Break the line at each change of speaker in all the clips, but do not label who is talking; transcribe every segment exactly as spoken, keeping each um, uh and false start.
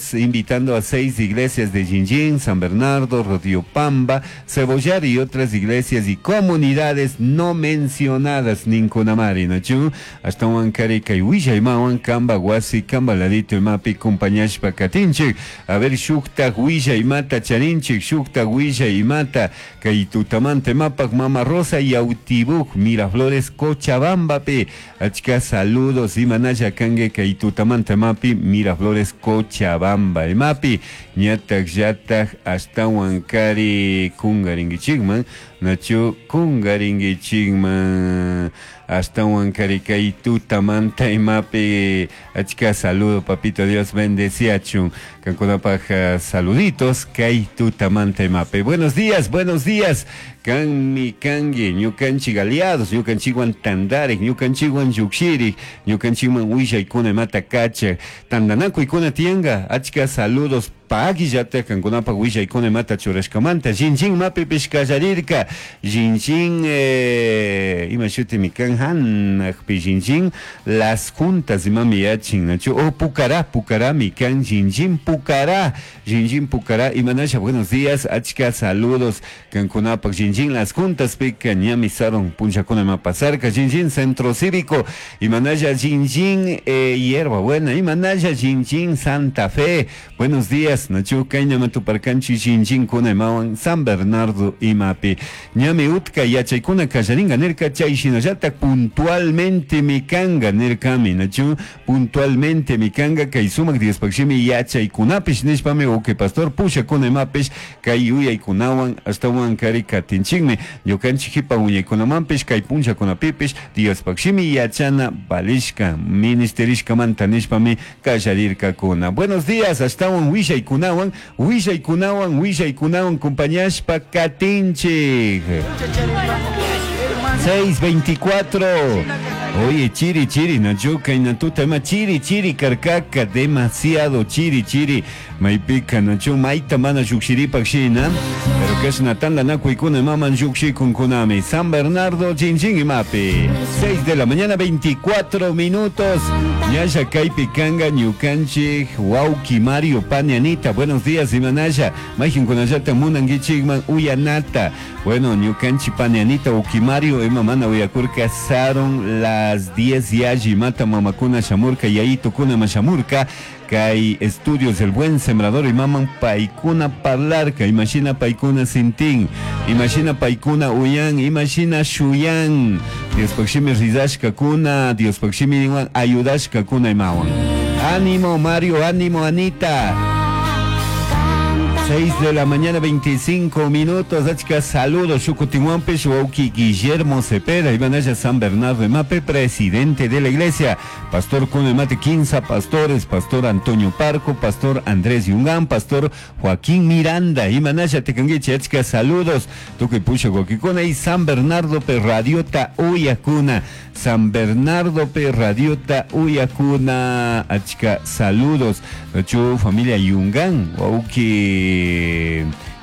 Estamos invitando a seis iglesias de Jinjin, San Bernardo, Pamba, Cebollar y otras iglesias y comunidades no mencionadas ninkunamari, nachu? Ashtahuan kari kay willaymawan kamba wasi kamba ladito imapi compañashpa katinchik. A ver, shuktak willaymata charinchik, shuktak willaymata kay tutamanta imapak Mama Rosa Yautibuk, Miraflores, Cochabambapi. Achka saludos imanalla kange kay tutamanta imapi Miraflores, Cochabamba imapi. Ñatak llatak ashtawan kari kungaringichikman, nachu kungaringichikman ashtawan kari kay tutamanta imapi. Achka saludo, papito Dios bendeciachun. Kankunapaj uh, saluditos kay tutamanta imapi. Buenos días, buenos días. Kanmi kangi, ñukanchik aliados, ñukanchikwan tandarik, ñukanchikwan llukshirik, ñukanchikman willaykuna imata kachak, tandanakuykuna tiyanka. Achka saludos pakillata kankunapaj willaykuna imata churashkamanta. Jinjin mapipish kallarirka. Jinjin eh, ima shutimi kan hanakpi Jinjin las juntas imami yachin, nachu? Oh, Pucará, Pucará mi kan Jinjin Pucará, Jinjin Pucará, imanasha, buenos días, achka saludos kankunapaj. Jinjin las juntas pika ñami saron punchakuna ima pasarka. Jinjin Centro Cívico, imanasha Jinjin eh, Hierba Buena, imanasha Jinjin Santa Fe, buenos días, nachu? Kayna matuparkanchi Jinjin kuna imawan San Bernardo imapi. Ñami utka yachaykuna kallaringa nirka, chay shinallata puntualmente mikanga nirkami, nachu? Puntualmente mikanga kay sumak Diospaj shimi yachaykunapish nishpami uke pastor pushakuna imapish kay yuyaykunawan ashtawan kari katinchikmi ñukanchik jipa wiñaykunamanpish kay punchakunapipish Diospaj shimi yachana valishka ministerishkamanta nishpami kallarirkakuna. Buenos días, ashtawan willaykunawan, willaykunawan, willaykunawan compañashpa katinchik. seis veinticuatro. Oye, chiri, chiri, nachu? Kaynatuta ima chiri, chiri, karkaka, demasiado chiri, chiri. Maypika, nachu? Mayta mana llukshiripak shina. Pero kashna tandanakuykuna imaman llukshikunkунami. San Bernardo, Chinchín imapi. seis de la mañana, veinticuatro minutos. Ñalla kaypi kanga ñukanchik, wawki Mario Panianita. Buenos días, imanalla. Mayqinkunallata munankichikman uyanata. Bueno, ñukanchik Panianita, wawki Mario, ima mana uyakurka sarun las diez yalli mata mamakuna shamurka, yayitukuna shamurka kay estudios del Buen Sembrador imaman paykuna parlarka, imashina paykuna sintin, imashina paykuna uyan, imashina shuyan Diospaj shimi rizashkakuna, Diospaj shimi ayudashkakuna imawan. Ánimo, Mario, ánimo, Anita. seis de la mañana, veinticinco minutos. Achka saludos. Shukutinwampish, wawki Guillermo Cepeda, imanalla San Bernardo imapi, presidente de la iglesia. Pastor Kunemate, quince pastores, pastor Antonio Parco, pastor Andrés Yungán, pastor Joaquín Miranda. Imanalla tikanguichi, achka saludos. Tukuy pusha wawkikuna y San Bernardo pe radiota uyakuna. San Bernardo pe radiota uyakuna. Achka saludos. Chu familia Yungán, wawki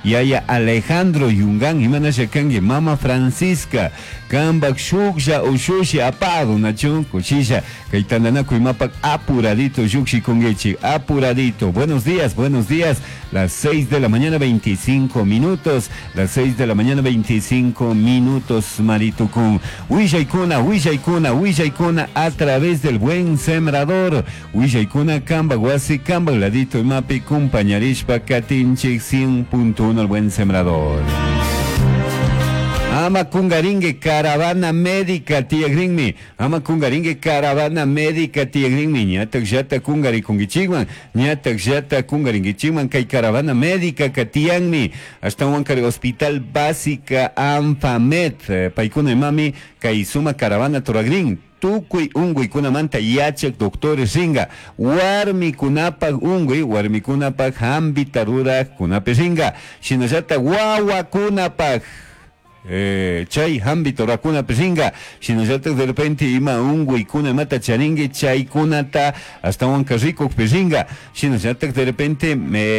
Yaya Alejandro Yungán, imanasha kangi, Mama Francisca, kambak shuklla ushushi apado, nachu? Kushilla, kay tandanakuy imapak apuradito llukshikunguichi, apuradito. Buenos días, buenos días, las seis de la mañana, veinticinco minutos, las seis de la mañana, veinticinco minutos, Maritukun. Willaykuna, willaykuna, willaykuna a través del Buen Sembrador. Willaykuna kamba wasi kamba ladito imapi kumpañarishpa katinchik cien punto uno El Buen Sembrador. Ama kungaringue caravana médica tiyagrinmi. Ama kungaringue caravana médica tiyagrinmi. Ñatak llata kungarikunguichikman. Ñatak llata kungaringuichikman kay caravana médica katiyanmi. Ashtawan kari Hospital Básica Anfamet. Eh, paykuna imami kay suma caravana turagrin. Tukuy unkuykunamanta yachak doctores ringa, warmikunapaj unkuy, warmikunapaj hambita rurajkunapish ringa, shinallata wawakunapaj. eh, chay hambi rurakunapi ringa. Shinallatak de repente ima unguykuna imata charingi chaykunata ashtawanka rikukpi ringa. Shinallatak de repente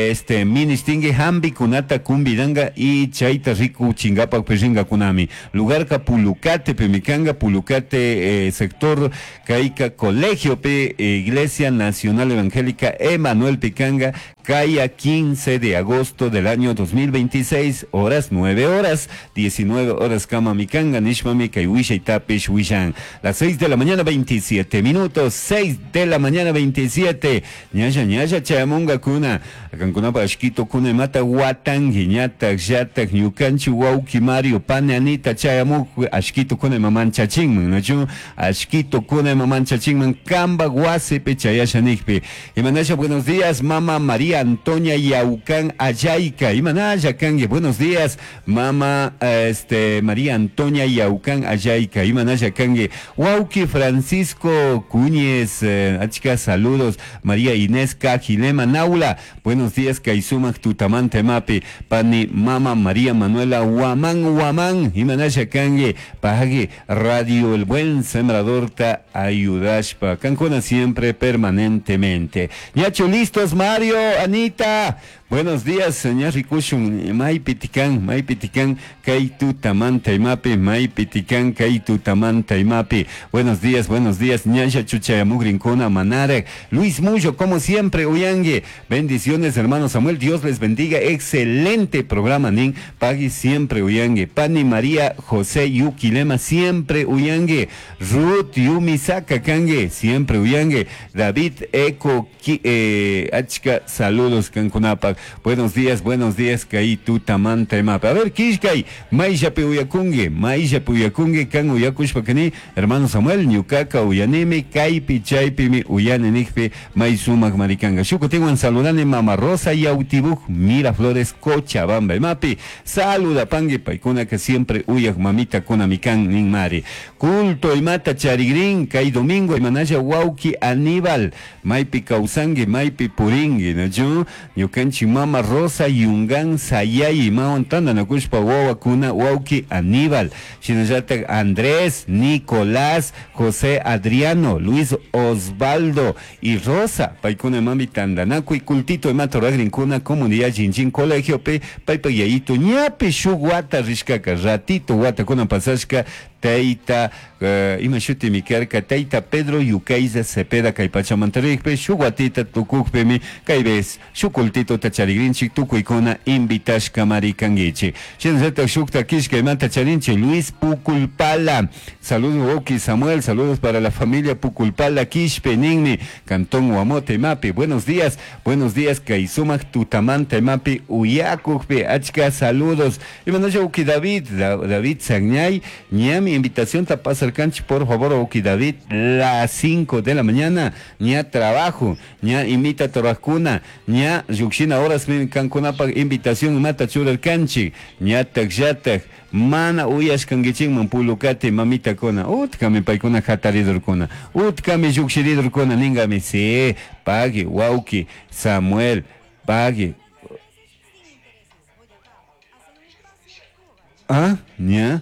este ministingi hambikunata convidanga y chayta rikuchinkapakpi ringakunami. Lugarka Pulucate pimikanga, Pulucate eh, sector kayka colegio pe Iglesia Nacional Evangélica Emanuel Picanga, Caya quince de agosto del año dos mil veintiséis, horas nueve horas, diecinueve horas kama mikanga, nishmami kay wishay tapish wishan. Las seis de la mañana veintisiete minutos, seis de la mañana veintisiete. Ñalla ñalla chayamunga kuna, kankunapa ashkito kuna mata watangi, ñatak yatak ñukanchi wauki Mario pane Anita chayamuk ashkito kuna mamanchachinman, nachu ashkito kuna mamanchachinman kamba wasipi chayasha nikpi. Imanasha, buenos días, mama María Antonia Yaucán Ayayca. Imanasha kangi, buenos días, mama este María Antonia Yaucán Ayayca. Imanasha kangi, wauki Francisco Cuñez, eh, achka saludos, María Inés Cajilema Naula. Buenos días, kay sumak tutamanta mapi, pani mama María Manuela Guamán Guamán. Imanasha kangi, pagi Radio El Buen Sembrador ta ayudashpa. Kankuna siempre permanentemente. Ñachu listos, Mario, Anita. Buenos días, señor rikushun, maypi tikan, maypi tikan, kay tutamanta imapi, maypi tikan, kay tutamanta imapi. Buenos días, buenos días, ñasha chuchayamugrinkuna manarek. Luis Mullo, como siempre, uyangue. Bendiciones, hermano Samuel, Dios les bendiga. Excelente programa, nin. Pagui siempre uyangue. Pani María José Yuquilema, siempre uyangue. Ruth Yumisaka kangue, siempre uyangue. David Eco, eh, achka, saludos, kankunapa. Buenos días, buenos días, kay tutamanta imapa. A ver, kishkay, mayllapi uyakungi, mayllapi uyakungi, kan uyakushpa kani, hermano Samuel, ñukaka uyanimi, kaypi chaypimi uyani nikpi, may sumak marikanga. Shukutinwan saludani mama Rosa Yautibuj, Miraflores, Cochabamba, imapi, saluda pangi, paykuna que siempre uyak mamita kuna mikan nin mari. Culto imata charigrin, kay domingo, imanaya wauki Aníbal, maypi kawsangi, maypi puringi, nachu, ñukanchik mama Rosa Yungan Sayay, imawan tandanakushpa wawakuna wauki Aníbal, shinallatak Andrés, Nicolás, José Adriano, Luis Osvaldo y Rosa, paykuna mami tandanakuy cultito imata ruragrinkuna comunidad Jinjin colegio pe, paypa yayito ñapi shuk wata rishkaka, ratito watakuna pasashka, tayta uh, ima shutimi karka tayta Pedro Yukaiza Cepeda kay pachamanta rikpi shuk watita tukukpimi kay vez shuk cultito charigrinchik, tukuykuna invitashka marikanguichik. Shinallatak shukta kishka imanta charinchik, Luis Puculpala. Saludos, Oki Samuel, saludos para la familia Puculpala Quishpe ninmi, Cantón Guamote Mapi. Buenos días, buenos días, kay sumak tutamanta imapi uyakukpi, achka saludos. Imanasha Uki David, David Sagñay, ñami invitación ta pasarkanchik, por favor, Uki David, las cinco de la mañana, ña trabajo, ña imita torajkuna, ña llukshina horas kankunapaq invitación mata churarkanchik, ñatak llatak mana uyashkankichikman Pulukati mamitakuna, utkami paykuna hataridurkuna, utkami llukshiridurkuna ningami, sí, pagui, wauki, Samuel, pagui. Ah, ña.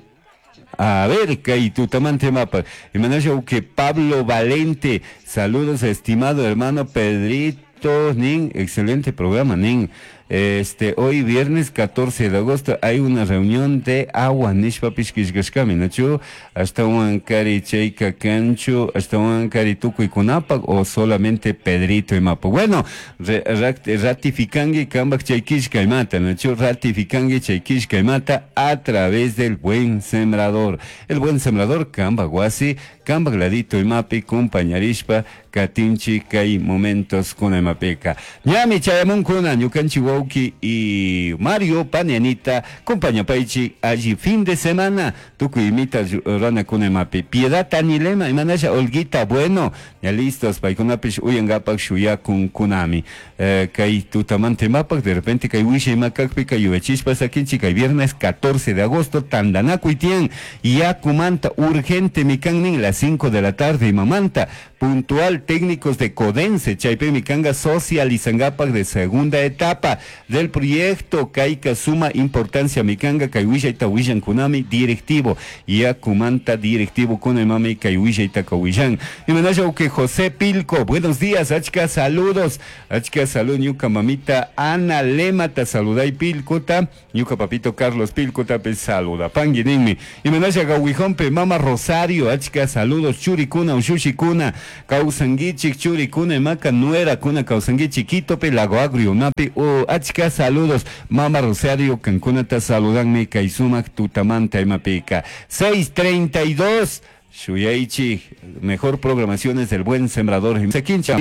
A ver, kay tutamanta mapa. Imanasha que Pablo Valente. Saludos, estimado hermano Pedrito nin. Excelente programa, nin. Este, hoy viernes catorce de agosto hay una reunión de agua nishpapish kishkashkami, nachu ashtawan kari chayka kanchu, ashtawan kari tukuykunapak o solamente Pedrito imapa. Bueno, ratificangi kambak chay kishka imata, nachu ratificangi chay kishka imata a través del Buen Sembrador. El Buen Sembrador kambak wasi, kambak ladito imapi kumpañarishpa katinchi kay momentos kuna imapika. Ñami chayamunkuna ñukanchi wauki y Mario Panianita compañapaichi allí fin de semana tukuy imita rana kuna imapi. Piedad Tanilema imanasha Olguita, bueno, ya listos paykunapish uyangapak shuyakun kunami. Eh, kay tutamanta imapak de repente kay wisha imakakpi kay yuyachishpa sakinchi kay viernes catorce de agosto tandanakuy tiyan yakumanta urgente mikan nin las cinco de la tarde imamanta. Puntual técnicos de Codense, chaypimi kanga socializangapak de segunda etapa del proyecto kayka suma importancia mikanga kay willayta willankunami directivo yakumanta directivo kunamami kay willayta kawillan. Imanasha que José Pilco, buenos días, achka saludos, achka salud ñuka mamita Ana Lemata saluday Pilcota, ñuka papito Carlos Pilcota pe saluda pangui ninmi. Imanasha gawijompe mama Rosario, achka saludos churikuna ushushikuna kawsanguichik churikuna imaka nuera kuna kawsanguichik Quitope Lago Agrio mapi o achka saludos mama Rosario kankunata saludanmi kay sumak tutamanta imapika. seis treinta y dos Shuyaichi, mejor programaciones del Buen Sembrador. Sakincha,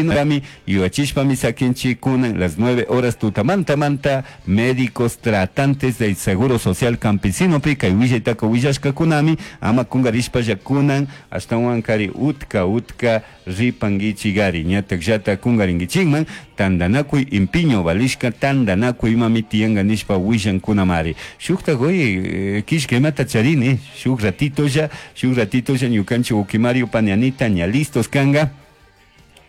y Sakinchi, kunan las nueve horas tutamanta manta, médicos tratantes del Seguro Social Campesino, pica y huilletaco huillashka kunami, ama kungarishpa yakunan, hasta huancari utka utka ripanguichi gari, ñatak yata kungaringuichingman, tandanakuy impiño valishka, tandanakuy mami tianganishpa huillan kunamari. Shukta goy, kishke mata charini, shuk ratito ya, shuk ratito ya, ñukanchi ukimario panianita ña listos kanga.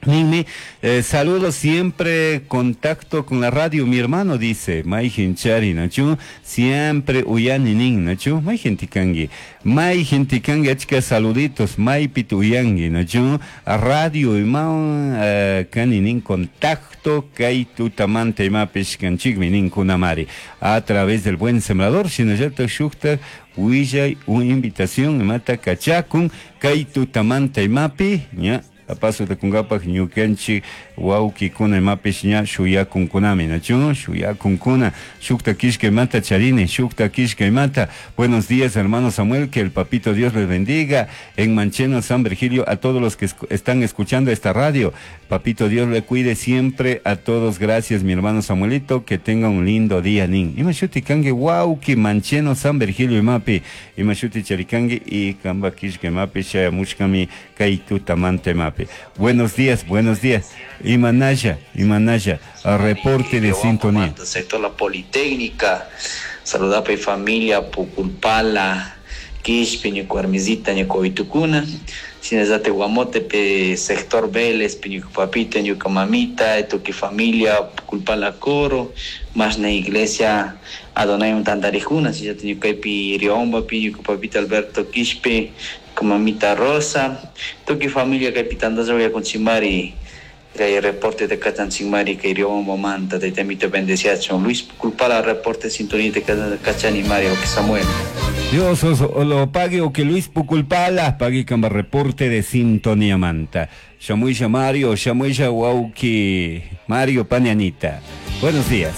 Ninmi, eh, saludos siempre, contacto con la radio, mi hermano dice, mai hinchari, nachu, siempre uyani nin, nachu, mai gentikangi, mai gentikangi, achka saluditos, mai pituyangi, nachu, radio y ma, eh, kani nin contacto, kai tutamante mapish kanchigmi nin kunamari, a través del Buen Sembrador, shinallata shukta, huillay, una invitación, mata kachakun, kai tutamante mapi, ña, apaso de kungapaj ñukanchik wawkikuna imapish ña shuyakunkunami nachu shuyakunkuna shukta kishka imata charini shukta kishka imata. Buenos días hermano Samuel, que el papito Dios les bendiga en Mancheno San Virgilio a todos los que están escuchando esta radio. Papito Dios le cuide siempre a todos. Gracias mi hermano Samuelito, que tenga un lindo día nin. Imashuti kangi wawki Mancheno San Virgilio imapi imashuti charikangi y kamba kishka imapi shayamushkami kay tutamante mapi. Buenos días, buenos días. Imanaya, Imanaya, reporte de sintonía.
Sector La Politécnica, saludapa y familia, Puculpala, Quishpi, Ñucuarmizita, Ñucovitucuna, Sinezate Guamotepe, sector Vélez, Piñucupapita, Ñucamamita, Tuqui familia, Puculpala Coro, Masna Iglesia, Adonai Untandarijuna, Sinezate Ñucaipi, Riomba, Piñucupapita Alberto Quishpi, Mamita Rosa, Tuqui familia Capitandaza voy a conchimari, el reporte de Cachanchimari, que Riomba Manta, te temito bendeciacho, Luis Culpala, reporte sintonía de Cachanimari, o que Samuel.
Dios os lo pague o que Luis Puculpala pague camba reporte de sintonía manta. Shamuisha Mario, Shamuisha Wauki, Mario Panianita. Buenos días.